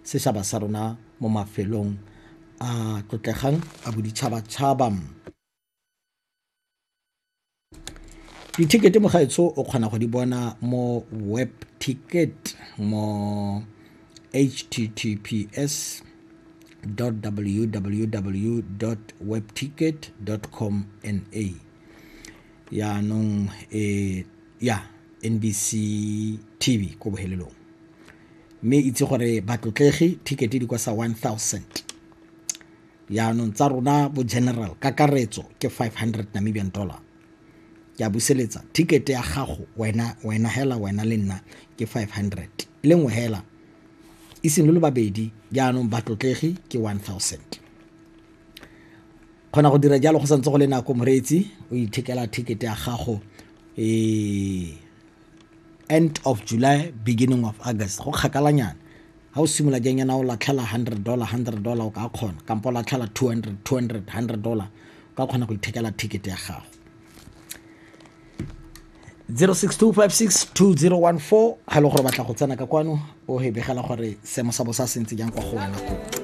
Sešaba sa rona mo mafelong a tlotlegang a boditšhabatšhaba. Dithekete mogaetsho o kgona go di bona mo web ticket mo https www webticket com na yaanong e ya NBC TV ko bohelelong. Mme itse gore batlotlegi ticket di kwa sa 1000, yaanong tsa rona bo general kakaretso ke 500 Namibian dollar. Ke a buseletsa, ticket ya gago wena, wena hela, wena le nna ke 500 le nngwe hela, e seng le babedi, jaanong batlotlegi ke 1000. Kgona go dira jalo go santse go le nako, moreetsi, o ithekela ticket ya gago e end of July, beginning of August, go kgakalanyana. Ga o simolola jang yana o latlhela $100, $100, o ka kgona, kampo o latlhela 200, 200, $100, o ka kgona go ithekela ticket ya gago. 062562014 ga e le gore batla go tsena ka kwano o he begela gore seemo sa bosa se ntse jang kwa go wena ko.